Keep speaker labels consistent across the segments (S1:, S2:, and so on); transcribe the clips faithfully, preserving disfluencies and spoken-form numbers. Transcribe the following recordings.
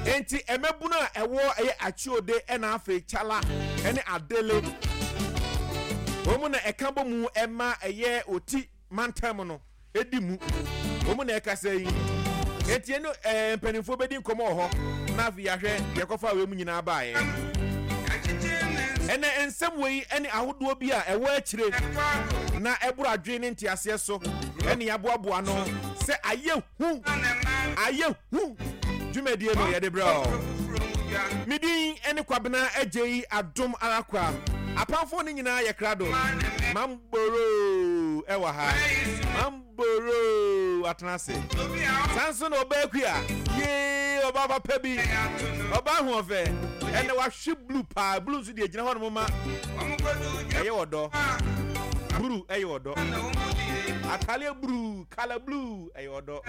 S1: Enti mmabunu a ɛwɔ ɛyɛ Akyode ɛna afei Kyala ɛne Adele wɔn mu na ɛka bɔ mu ɛma ɛyɛ Oti mantam no ɛdi mu. Wɔn mu na ɛkasa yi. Enti ɛne ɛɛ mpanimfoɔ bɛdi nkɔmɔ wɔ hɔ na afei yɛahwɛ deɛ ɛkɔfa wei mu nyinaa baeɛ. Ɛnɛ nsɛm wei ɛne ahodoɔ bi a ɛwɔ akyire na ɛboro adwene ne nteaseɛ so ɛne yɛaboaboa no sɛ ayɛ hu ayɛ hu dwumadie no yɛde brɛ o. Me din ɛne Kwabena Agyei Adom Arakwa. Apamfoɔ no nyinaa yɛ krado. Mamboro ɛwɔ ha. Mamboro atena ase. Saa nso na ɔbaa akua. Yee ɔbaa papa bi. Ɔbaa ahoɔfɛ. Ɛnna wahwe blue paa. Blue nso deɛ gyina hɔ nom ma ɛyɛ ɔdɔ. Blue ɛyɛ ɔdɔ. Ataleɛ blue, color blue ɛyɛ ɔdɔ.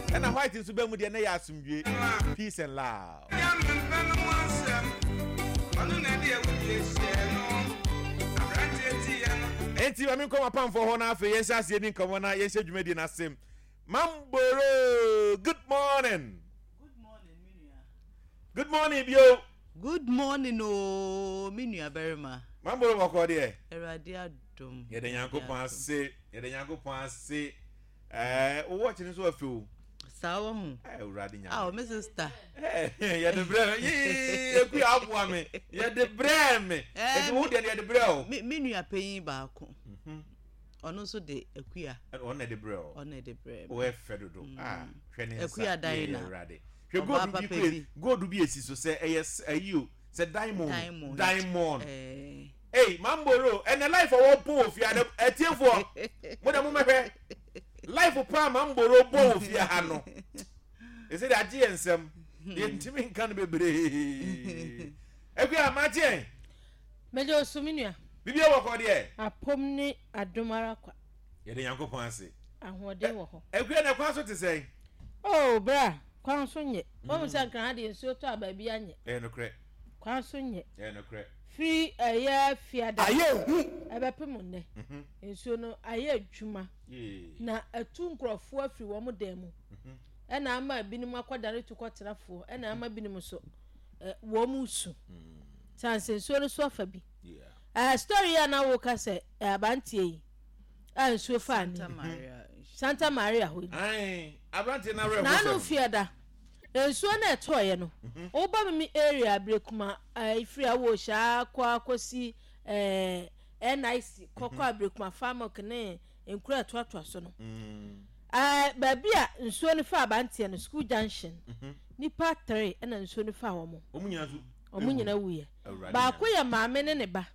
S1: Ɛna white nso bɛn mu deɛ na yɛ asomdwe. Peace and love. Enti ma menkɔ m'apamfoɔ hɔ na afei yɛnhyɛ aseɛ ni nkɔmmɔ na yɛnhyɛ dwumadie no ase. Mamboro, good morning.
S2: Good morning, me nua.
S1: Good morning bio.
S2: Good morning o, me nua barima.
S1: Mamboro bɔkɔ deɛ.
S2: Awurade adom.
S1: Yɛda Nyankopɔn ase. Yɛda Nyankopɔn ase. Ɛɛ, wo watch no nso afi o.
S2: Saa wɔ ho.
S1: Awurade Nyame.
S2: Aw, me sister.
S1: Yɛde brɛ me. Yee, eku aboa me. Yɛde brɛ me. Eti wo deɛ yɛde brɛ o.
S2: Me me nua panyin baako. Ɔno nso de akua.
S1: Ɔno na ɛde brɛ o.
S2: Ɔno na ɛde brɛ
S1: me. Ɔyɛ fɛ dodo. Ah, hwɛ ne nsa.
S2: Akua dan na.
S1: Awurade. Hwɛ gold bi kure gold bi esi so sɛ ɛyɛ ayi o sɛ diamond.
S2: Diamond.
S1: Diamond.
S2: Eh.
S1: Hey, Mamboro, ɛnɛ life a wɔbɔ wɔ fie ha ɛtiefoɔ mo de mo mɛhwɛ life paa Mamboro bɔ wɔ fie ha no ɛsɛ de agye yɛn nsɛm yɛntumi nka no bebree. Akua magye yɛn.
S3: Mede osu me nua.
S1: Bibia wɔ kɔ deɛ.
S3: Apom ne adom ara kwa.
S1: Yɛde Nyankopɔn ase.
S3: Ahoɔden wɔ hɔ.
S1: Akua na kwan so te sɛn?
S3: Oh bra, kwan so nyɛ. Wɔn sɛ nkran ha deɛ nsuo tɔ a baabi anyɛ.
S1: Ɛyɛ nokorɛ.
S3: Kwan so nyɛ.
S1: Ɛyɛ nokorɛ.
S3: Firi ɛyɛ fiada.
S1: Ayɛ hu.
S3: Ɛbɛpem nnɛ. Nsuo no ayɛ adwuma. Na atu nkurɔfoɔ afiri wɔn dan mu. Ɛna ama ebinom akɔdane tu kɔtenafoɔ. Ɛna ama ebinom nso wɔn su. Sanse nsuo no so afa bi. Ɛɛ story a na woka sɛ abanteɛ yi a nsuo faa ne. Santa Maria hɔ yi.
S1: Aberanteɛ no awerɛho sɛm.
S3: N'ano fiada. Nsuo no ɛtɔɔyɛ no. Woba me me area Abirikuma ɛfiri Awohyɛ akɔ akɔsi ɛɛ N I C kɔkɔ Abirikuma Farmok ne nkuro a ɛtoatoa so no. Ɛɛ baabi a nsuo no fa abanteɛ no, school junction, nipa three ɛna nsuo no fa wɔn.
S1: Wɔn nyinaa nso.
S3: Wɔn nyinaa wuyɛ. Baako yɛ maame ne ne ba.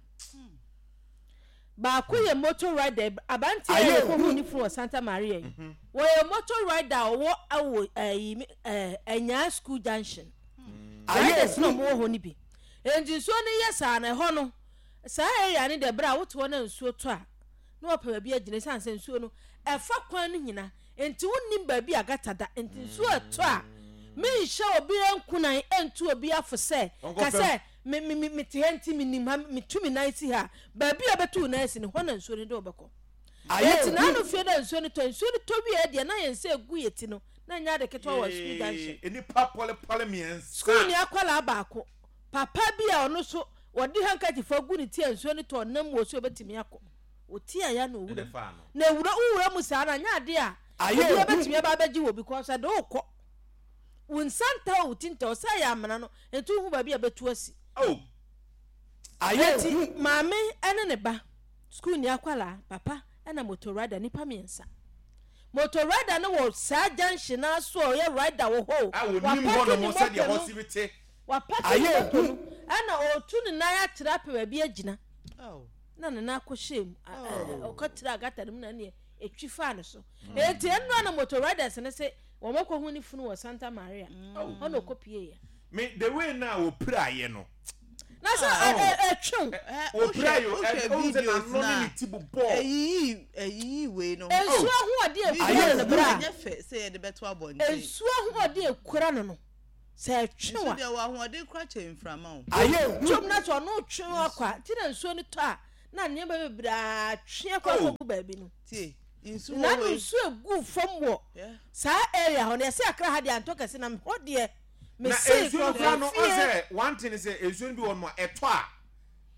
S3: Baako yɛ motor rider abanteɛ yɛ kɔ hu ne funu wɔ Santa Maria yi. Wɔyɛ motor rider a ɔwɔ ɛwɔ ɛyi ɛɛ Anyaa school junction. Riders na wɔn wɔ hɔ no bi. Nti nsuo no yɛ saa na ɛhɔ no saa area no deɛ bere a wote hɔ na nsuo tɔ a na wɔpɛ baabi agyina esiane sɛ nsuo no ɛfa kwan no nyina nti wonnim baabi a gata da nti nsuo ɛtɔ a menhyɛ obi nkunan ntu obi afo sɛ ka sɛ me me me mete ha nti menim ha metu me nan si ha baabi a bɛtu wo nan si no hɔ na nsuo no de wobɛkɔ. Enti n'ano fie na nsuo no tɔ nsuo no tɔ wieɛ deɛ na yɛn nsa egu yɛ ti no na nyɛ ade ketewa wɔ sukuu junction.
S1: Nnipa pɔlepɔle mmiɛnsa.
S3: Sukuuni akwadaa baako papa bi a ɔno nso wɔde handkerchief agu ne ti a nsuo no tɔ ɔnam mu wɔ so obetumi akɔ. Ɔti a ya na owura mu. Na ewura wowura mu saa na nyɛ ade a obi abɛtumi aba abɛgye wɔ because ɛde wokɔ. Wo nsa nta wo ti nta sɛ ɛyɛ amena no nti wohu baabi a bɛtu asi.
S1: Oh.
S3: Enti maame ne ne ba, sukuuni akwadaa, papa ɛna motor rider nipa mmiɛnsa. Motor rider no wɔ saa junction naa so a ɔyɛ rider wɔ hɔ o.
S1: A wɔnim hɔ nom sɛdeɛ hɔ si te.
S3: Wapaki ne motor no ɛna ɔretu ne nan akyerɛ apɛ baabi agyina. Na ne nan akɔhyɛ mu ɔkɔtira gata no mu na neɛ ɛtwi faa ne so. Enti ɛnora na motor riders no se wɔn akɔhu ne funu wɔ Santa Maria. Hɔ na ɔkɔpieeɛ.
S1: Me the way na wɔpiraeɛ no.
S3: Na sɛ ɛtwew.
S1: Wɔpiraeɛ o ɛhu sɛ n'ano ne ne ti bobɔɔ.
S2: Ɛyiyi ɛyiyi wei no.
S3: Nsuo ahoɔden ekura no bra.
S2: Ɛnyɛ fɛ sɛ yɛde bɛto abɔnten.
S3: Nsuo ahoɔden ekura no no sɛ ɛtwew a.
S2: Nsu deɛ wɔ ahoɔden kora kyɛn mframa o.
S3: Ayɛ hu. Twom na sɛ ɔno twe akɔ a ti na nsuo no tɔ a na nneɛma bebree atwe akɔ akɔgu baabi no.
S2: Tie nsuo
S3: wei. Na nsuo egu fam wɔ saa area hɔ no yɛsɛ Accra ha deɛ antɔ kɛse na hɔ deɛ.
S1: Na nsuo no kora no, ɔsɛ one thing sɛ nsuo no bi wɔ no a ɛtɔ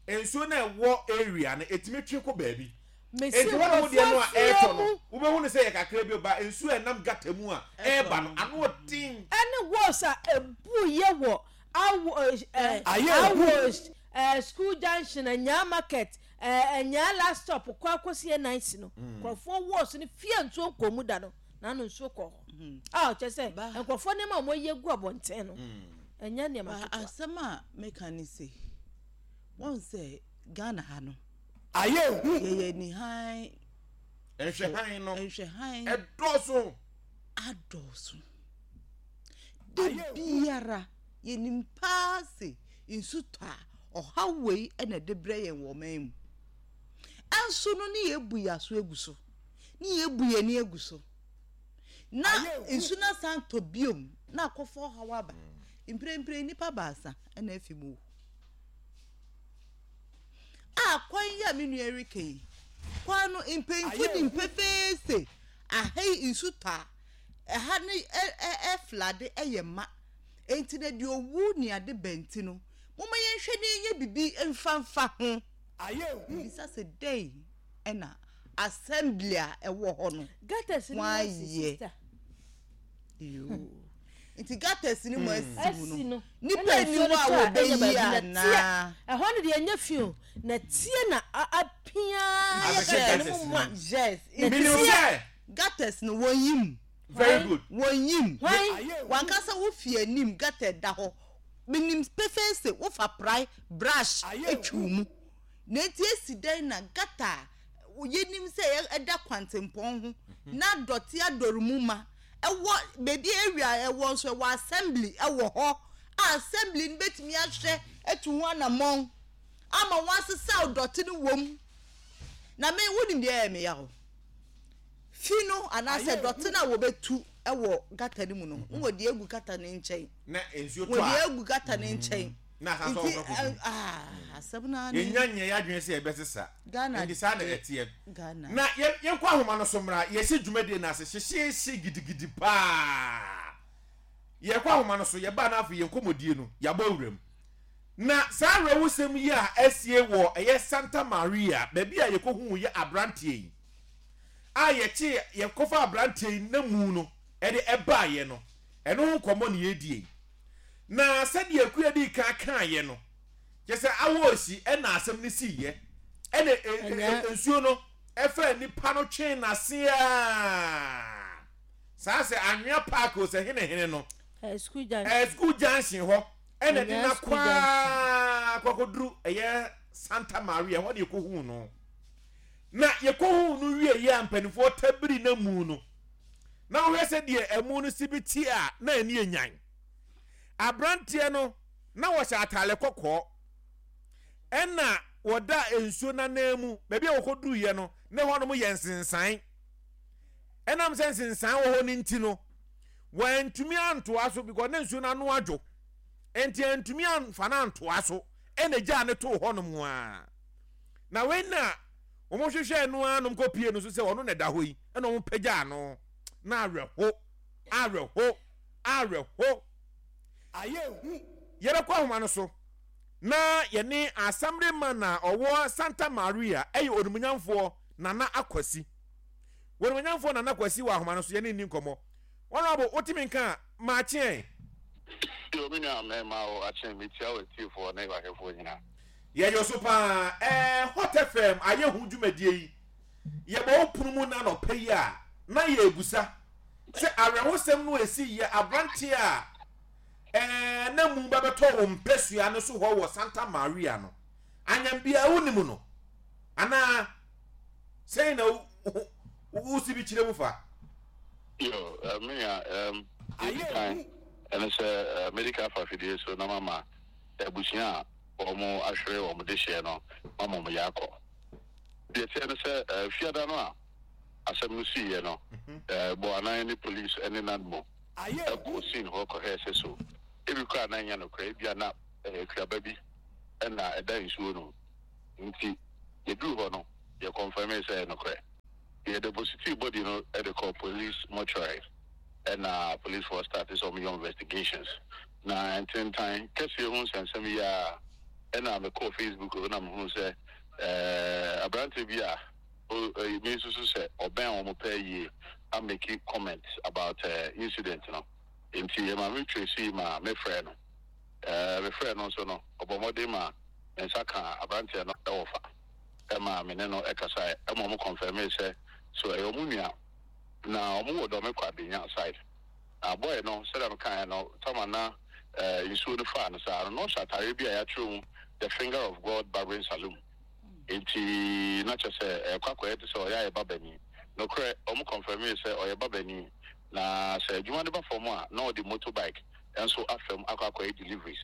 S1: a, nsuo no a ɛwɔ area no ɛtumi twe kɔ baabi. Enti wɔn a deɛ no a ɛɛtɔ no, wobɛhu no sɛ yɛ kakra bi ba nsuo a ɛnam gutter mu a ɛɛba no ano ɔden.
S3: Ɛne walls a ebu yɛ wɔ awo ɛɛ awo ɛɛ School Junction, Anyaa Market, ɛɛ Anyaa Last Stop kɔ akɔsi N I C no, nkurɔfoɔ walls no fie nsuo nkɔ mu da no n'ano nsuo kɔ hɔ a ɔkyɛ sɛ nkurɔfoɔ nneɛma a wɔyɛ gu abɔnten no ɛnyɛ nneɛma ketewa.
S2: Asɛm a meka ne se wɔn sɛ Ghana ha no
S4: ayɛ hu.
S2: Yɛyɛ nihan.
S1: Nhwɛhan no
S2: nhwɛhan
S1: ɛdɔɔso.
S2: Adɔɔso da biara yɛnim paa se nsu tɔ a, ɔhaw wei ɛna ɛde brɛ yɛn wɔ ɔman mu. Ɛnso no ne yɛbu yɛ aso egu so, ne yɛbu yɛn ani egu so, na nsu no asan tɔ biom na akɔfɔ ɔhaw aba. Mprempren nipa baasa ɛna afi mu a kwan yi a me nua reka yi, kwan no mpanyinfo di mpefee se aha yi nsu tɔ a, ɛha ne ɛ ɛ ɛflood ɛyɛ ma. Enti na deɛ owu ne ade bɛnti no, moma yɛnhwɛ ne yɛnyɛ bibi mfamfa ho.
S4: Ayɛ hu.
S2: Bisa sɛ dɛn ɛna assembly a ɛwɔ hɔ no
S3: gutters no
S2: wɔayɛ
S3: asi, sister.
S2: Yoo, nti gutters ni mu asi
S3: asi
S2: mu no
S3: no
S2: nipa
S3: ɛna
S2: ni
S3: nsuo
S2: hɔ
S3: no
S2: a
S3: tɔ a, ɛnyɛ
S2: wɔbɛyi
S3: baabi na
S2: anaa
S3: teɛ ɛhɔ no deɛ ɛnyɛ fi o, na tie na a- apia yɛ
S1: Abɛhyɛ
S3: gutter no
S1: gutters
S3: mu
S1: no
S3: ma.
S1: mu.
S2: Yes.
S3: Na
S1: Menim
S3: tie
S1: sɛ
S2: gutters no wɔn yim.
S1: Very good.
S2: Wɔn yim.
S3: Hwan?
S2: Wankasa wofi anim gutter da hɔ, menim pefee sɛ wofa prae brush atwiw mu na eti esi dɛn na gutter a yɛnim sɛ yɛ- ɛda kwantempɔn ho na dɔte adɔre mu ma ɛwɔ beebi area ɛwɔ nso ɛwɔ assembly ɛwɔ hɔ a assembly no bɛtumi ahwɛ atu ho anammɔn ama wɔn asesaw dɔte no wɔ mu. Na me wonim deɛ ɛyɛ me ya o, fi no anaasɛ dɔte no a wɔbɛtu ɛwɔ gutter no mu no, n wɔde egu gutter no nkyɛn.
S1: Na nsuo tɔ
S2: wɔde
S1: a
S2: egu gutter no nkyɛn.
S1: Na asan so
S2: nti
S1: ɔkɔ kɔgu.
S2: ɛ, ah, asɛm naa ne
S1: Yɛnya nyɛ yɛ adwene sɛ yɛbɛsesa.
S2: Ghana
S1: nti saa na
S2: deɛ-
S1: ɛteɛ.
S2: Ghana.
S1: Na yɛn yɛnkɔ ahoma no so mmra. Yɛsi dwumadie no ase hyehyɛhye gidigidi paa. Yɛkɔ ahoma no so, yɛbaa no afei yɛn nkɔmmɔdie no yɛabɔ awuram na saa awerɛwosɛm yi a asie wɔ ɛyɛ Santa Maria, baabi a yɛkɔhuu yɛ aberanteɛ yi a yɛkye yɛkɔfa aberanteɛ yi na mu no ɛde ɛbaayɛ no, ɛno ho nkɔmmɔ ne yɛdie yi. Na sɛdeɛ Akua di kan kaayɛ no, kyɛ sɛ awɔ ɛna asɛm no siiɛ ɛna e- e-
S3: Ɛnyɛ-
S1: e- nsuo no ɛfɛ nipa no twee n'ase a saa sɛ Anwea Park o, sɛ hene hene no
S3: ɛɛ School Junction.
S1: ɛɛ School Junction hɔ ɛna de
S3: Ɛnyɛ
S1: na
S3: School
S1: kwaa kɔkɔduru ɛyɛ Santa Maria hɔ de yɛkɔhuu no. Na yɛkɔhuu no wie yɛ a, mpanimfoɔ tabiri na mu no na wohwɛ sɛ deɛ ɛmu no si bi ti a na ani enyan. Aberanteɛ no na wɔhyɛ ataale kɔkɔɔ ɛna wɔda nsuo n'anan mu. Baabi a wɔkɔduru no na hɔnom yɛ nsensan. Ɛnam sɛ nsensan wɔ hɔ no nti no, wɔantumi antoa so because ne nsuo no ano adwo, nti antumi amfa no antoa so ɛna gyaa ne too hɔnom a na wei na wɔn hwehwɛ no ara nom kɔpie no so sɛ ɔno na ɛda hɔ yi, ɛna wɔn pagyaa no na awerɛho, awerɛho, awerɛho.
S4: Ayɛ hu.
S1: Yɛbɛkɔ ahoma no so na yɛne assemblyman a ɔwɔ Santa Maria, ɛyɛ Onimonyamfoɔ Nana Akwasi. Onimonyamfoɔ Nana Akwasi wɔ ahoma no so, yɛne nni nkɔmmɔ. Honorable, wotumi nka a maakyeɛn?
S5: Yo, me nua mmarima o, akyɛn metia wɔ atiefoɔ ne wahwɛfoɔ nyinaa.
S1: Yɛyɛ so paa. ɛɛ Hot F M ayɛ ho dwumadie yi, yɛbɔ wo pono mu na nɔpɛ yi a na yɛrebusa sɛ awerɛhosɛm no esi yɛ aberanteɛ a ɛɛ na mu bɛbɛtɔ wo mpɛsua no so hɔ wɔ Santa Maria no, anyambia wonim no anaa sɛn na wo- wo- wosi bi kyerɛ mu fa?
S5: Yo, eh, me nua, um, deɛ kan ɛne sɛ eh, medical fa afidie so na mama abusua a wɔn ahwere wɔn de hyɛ no mama wɔn yɛ akɔ. Deɛ teɛ ne sɛ eh, fiada no a asɛm no siiɛ no, eh, bɔ anan ne police ne NADMO
S4: Ayɛ hu.
S5: ɛkɔ scene hɔ kɔhwɛɛ sɛ so ebi koraa na nyɛ nokorɛ, ebi a na eh, kuaba bi ɛna ɛda nsuo no mu. Nti yɛduru hɔ no, yɛ confirm sɛ ɛyɛ nokorɛ. Yɛ deposit body no ɛde kɔ police mortuary, ɛna police force start sɛ ɔmo yɛ investigations. Na ntentan kɛseɛ ho nsɛnsɛm yi a ɛna mekɔɔ Facebook na mehu sɛ ɛɛ aberante bi a me nso so sɛ ɔbɛn wɔn pɛɛ yie a make comment about uh, incident no. Nti ɛma me trace ma mefrɛ no. ɛɛ mefrɛ no nso no, ɔbɔ mmɔden ma ne nsa ka aberanteɛ no ɛwɔ fa ɛma me ne no ɛkasa, ɛma ɔmo confirm sɛ so ɛyɛ ɔmo nua na ɔmo wɔ Dɔme Kwabenya side. Na boy no, sɛdeɛ mekaeɛ no, tama na ɛɛ nsuo no faa no saa no, na ɔhyɛ atareɛ bi a yɛatwerɛ mu "The Finger of God Barbering Saloon". Nti na kyerɛ sɛ ɛkɔ akɔyɛ te sɛ ɔyɛ ayɛ babani. Nokorɛ, ɔmo confirm sɛ ɔyɛ babani, na sɛ adwuma no ba fam a, na ɔde motorbike nso afam akɔ akɔyɛ deliveries.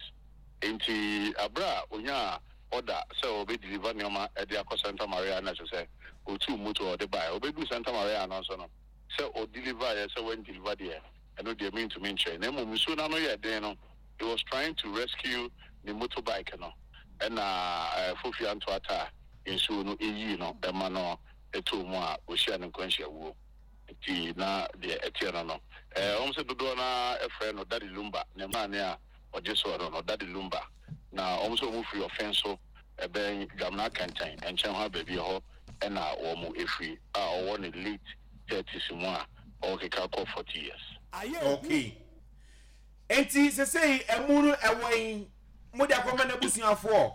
S5: Nti abere a onyaa order sɛ ɔbɛ deliver nneɛma ɛde akɔ Santa Maria, na kyerɛ sɛ otu moto a ɔde baeɛ, ɔbɛdu Santa Maria no nso no, sɛ ɔdeliver yɛ sɛ wɔn deliver deɛ, ɛno deɛ mentumi nkyerɛ. Na mmom nsuo n'ano yɛ den no, he was trying to rescue ne motorbike no, ɛna ɛɛ fofia ntoata a nsuo no eyii no ɛma no ɛtoo mu a ohyia ne nkwanhyia wuo. Nti na deɛ ɛteɛ no no ɛɛ wɔn sɛ dodoɔ naa ɛfrɛ no Daddy Lumba, ne maame a ɔgye soɔ no no Daddy Lumba. Na wɔn nso wɔn firi ɔfɛn so, ɛbɛn Dwamena Kɛntɛn nkyɛn hɔ baabi hɔ ɛna wɔn efiri, a ɔwɔ ne late thirties mu a ɔrekeka kɔ forty years.
S1: Okay, nti sesei ɛmu no ɛwɔ yi, mo de akɔma n'abusuafoɔ,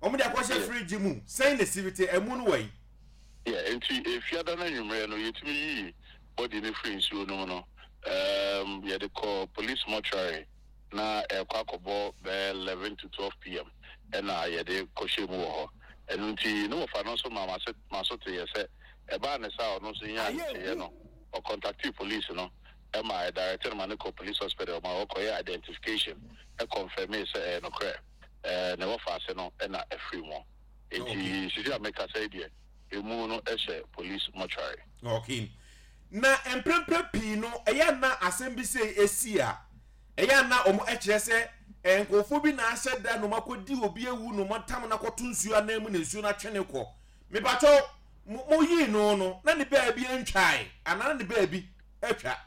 S1: wɔn de akɔhyɛ fridge mu sɛn na sibite ɛmu no wɔ yi?
S5: Yeah, nti efiada no anwummerɛ no, yɛtumi yii body no firi nsuo no mu no, um, yɛde kɔ police mortuary na ɛkɔ akɔbɔ bɛyɛ eleven to twelve P M ɛna yɛde kɔhyɛ mu wɔ hɔ. Ɛno nti ne wɔfa no nso ma maso maso te yɛ sɛ ɛbaa ne sa a ɔno nso nyaa nteɛ no, ɔcontactee police no ɛma ɛdirect no ma ne kɔ police hospital ma ɔkɔyɛ identification, ɛconfirm sɛ ɛyɛ nokorɛ, ɛɛ ne wɔfa ase no ɛna ɛfiri mu. Nti sisi a meka sɛ deɛ emu no ɛhyɛ police mortuary.
S1: Okay, na mprempren pii no, ɛyɛ na asɛm bi sɛ esi a, ɛyɛ na wɔn ɛkyerɛ sɛ ɛɛ nkurɔfoɔ bi na ahyɛ da na wɔn akɔdi obi ewu na wɔn atam na akɔto nsuo anan mu na nsuo no atwe ne kɔ. Mipatɔ mo mo yii no no na ne baabi ntwae anaa na ne baabi atwa?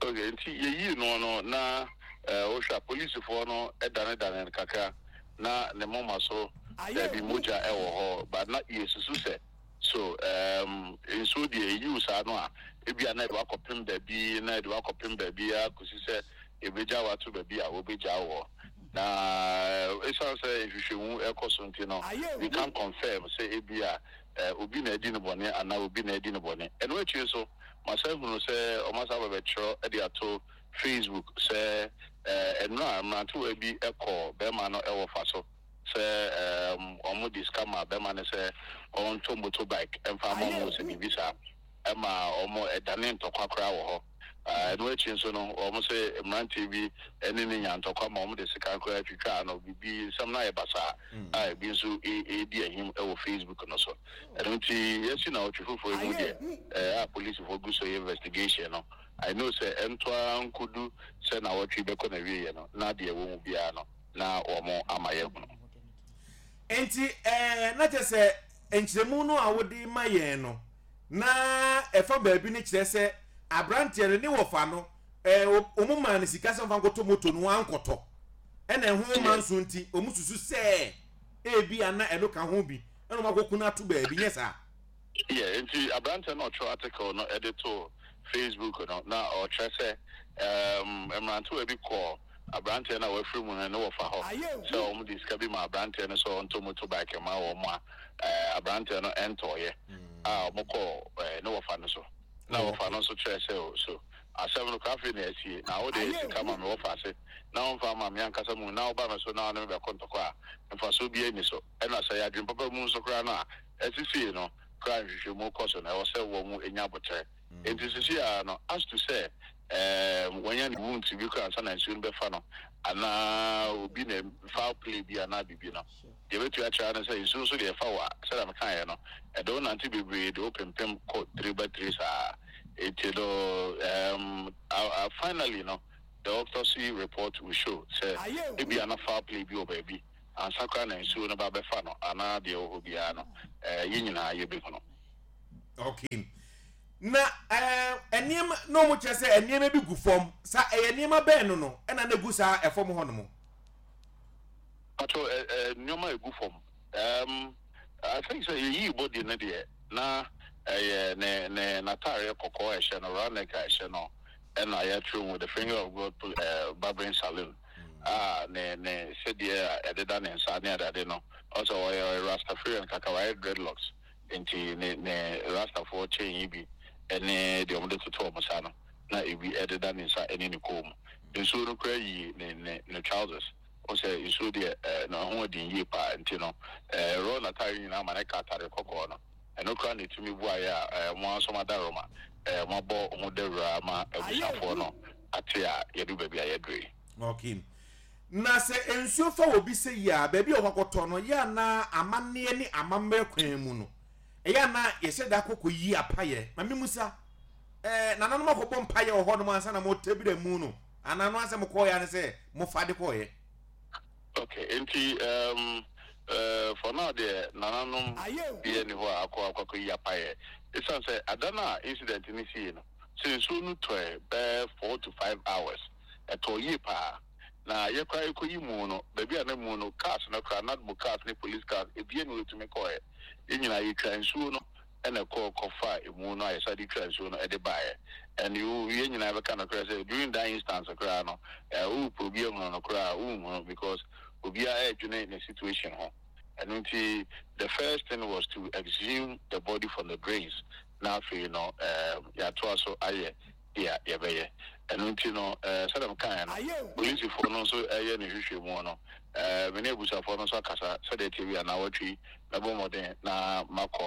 S5: Okay, nti yɛyii no no na ɛɛ wohwɛ a, polisifoɔ no ɛdanedane no kakra na ne moma so baabi mogya ɛwɔ hɔ ba, na yɛsusu sɛ so um, nsuo deɛ ɛyiw saa no a, ebia na ɛde wakɔpem baabi na ɛde wakɔpem baabi akɔsi sɛ ebegya wato baabi a wɔbɛgya wɔ. Na ɛsiane sɛ nhwehwɛmu ɛkɔ so nti no, we can confirm sɛ ebia eh, obi na adi no bɔne anaa obi na adi no bɔne. Ɛno akyi nso, masa hunu sɛ ɔmasa bɛbɛtwerɛ de ato Facebook sɛ eh, ɛno a mmerantewa bi ɛkɔ bɛrima no ɛwɔ fa so sɛ um, ɔmo de sika ma bɛrima no sɛ ɔntɔ motorbike ɛmfa ama ɔmo, sɛ biribi saa ɛma ɔmo ɛdane ntɔkwa koraa wɔ hɔ. Ah, ɛno akyi nso no, ɔmo sɛ mmeranteɛ bi ɛne ne nya ntɔkwa ma ɔmo de sika koraa twitwa no, biribi nsɛm no ayɛ basaa a ebi nso ɛ- ɛredi ahim ɛwɔ Facebook no so. Ɛno nti yɛsi na ɔtwe foforɔ yi mu deɛ ɛɛ a polisifoɔ gu so yɛ investigation no, I know sɛ ɛntoa nkodu sɛ na wɔtwe bɛkɔ na wieɛ no, na deɛ ɛwɔ mu biara no na wɔn ama yɛhunu.
S1: Nti ɛɛ na kyerɛ sɛ nkyerɛmu no a wode ma yɛn no na ɛfa baabi no kyerɛ sɛ aberanteɛ no ne wɔfa no ɛɛ wɔn maa no sika sɛ ɔmfa nkɔtɔ moto no, wankɔtɔ, ɛna ɛho ma nso nti wɔn susu sɛ ebi ana ɛno ka ho bi ɛna wɔn akɔku no ato baabi, nyɛ saa?
S5: Yeah, nti aberanteɛ no ɔtwerɛ article no ɛde to Facebook no na ɔkyerɛ sɛ um, mmerantewa bi kɔɔ aberanteɛ no a wafiri mu no ne wɔfa hɔ sɛ wɔn de sika bi ma aberanteɛ no sɛ ɔntɔ motorbike ma wɔn a ɛɛ aberanteɛ no ɛntɔɔyɛ a, wɔn kɔɔ ɛɛ ne wɔfa no so na wɔfa no nso kyerɛ sɛ o so asɛm no koraa afei na asie na wode sika ma me wɔfa ase na wɔmfa ma me ankasa mu na woba me so na wɔne me bɛkɔ ntɔkɔ a, mfasoɔ bi ani so. Ɛna sɛ yɛ adwene papa mu nso koraa no a ɛsisie no koraa, nhwehwɛmu kɔ so na ɛwɔ sɛ wɔn mu nya abotire. Nti sisi a no, as to sɛ ɛɛm wɔnya ne wounds bi koraa ansa na nsuo no bɛfa no anaa obi na foul play bi anaa biribi no, deɛ bɛtumi akyerɛ no sɛ nsuo nso deɛ ɛfa wɔ a, sɛdeɛ mekaeɛ no, ɛde wo nante bebree de wo pempem kɔ tiri ba tiri saa. Nti no um, uh, uh, finally no, the autopsy report will show sɛ ebi ana foul play bi wɔ baabi ansa koraa na nsuo no ba bɛfa no anaa deɛ ɛwɔ hɔ biara no, ɛɛ yɛn nyinaa yɛbɛhu no.
S1: Okay, Na ɛɛ nneɛma na wɔn kyerɛ sɛ nneɛma bi gu fam sa, ɛyɛ nneɛma bɛn no no ɛna na egu saa ɛfam hɔ nom?
S5: Ato ɛ ɛ nneɛma egu fam, um, I think sɛ yɛyii body no deɛ, na ɛyɛ ne ne n'ataareɛ kɔkɔɔ a ɛhyɛ no, round neck a ɛhyɛ no, ɛna yɛatwerɛ mu "The Finger of God uh, Barbering Saloon", a ne ne sɛdeɛ a ɛdeda ne nsa ne adeade no, ɔsɛ ɔyɛ ɔyɛ Rastafarian kaka, wayɛ dreadlocks, nti ne ne Rastafoɔ chain yi bi ɛne deɛ wɔde toto wɔn nsa no na ebi ɛdeda ne nsa ɛne ne kɔn mu. Nsuo no kora yi ne ne ne trousers. Ɔsɛ nsuo deɛ, ɛɛ na ho ɔden yie paa, nti no ɛɛ rɔ n'ataare nyinaa ma ne ka ataare kɔkɔɔ no. Ɛno kora na etumi bu ayɛ a ɛɛ mo nso ma da roma ɛɛ mo abɔ ho dawura ama abusuafoɔ no ate a yɛdu baabi a yɛduru yi.
S1: Okay, na sɛ nsuo fa wɔ bi sɛ yi a, baabi a ɔkɔkɔtɔ no yɛ ana, amanneɛ ne amammerɛ kwan mu no, ɛyɛ ana yɛhyɛ da akɔkɔ yi apayɛ ma mi musa ɛɛ nananom akɔbɔ mpayɛ wɔ hɔnom ansa na mo tɛbira mu no, anaa no asɛ mo kɔɔyɛ ano sɛ mo fa de kɔɔyɛ?
S5: Okay, nti um, uh, for now deɛ, nananom bi ni hɔ a akɔ akɔkɔ yi apayɛ, esan sɛ ada no a incident no sie no, sɛ nsuo no tɔɛ bɛɛ four to five hours, ɛtɔ yie paa, na yɛkora yɛkɔyi mu no, baabi a na mu no, cars no kora, NADMO cars ne police cars ebie na wɔtumi kɔɛ. Yɛn nyinaa yɛtwa nsuo no ɛna ɛkɔɔ kɔfa emu no a yɛsa de twa nsuo no ɛde baeɛ. And you, yɛn nyinaa bɛka no koraa sɛ during that instance koraa no, ɛɛ wopɛ obi ahunu no koraa, wonhunu, because obiara ɛredwene ne situation ho. Ɛno nti the first thing was to exhume the body from the drains, na afei no ɛɛ yɛatoa so ayɛ deɛ yɛbɛyɛ. Ɛno nti no, ɛɛ sɛdeɛ mekaeɛ no, polisifoɔ no nso ɛyɛ ne hwehwɛmu no, ɛɛ me ne abusuafoɔ no nso akasa sɛdeɛ tie bi anaa wɔtwe mɛbɔ mmɔden na makɔ.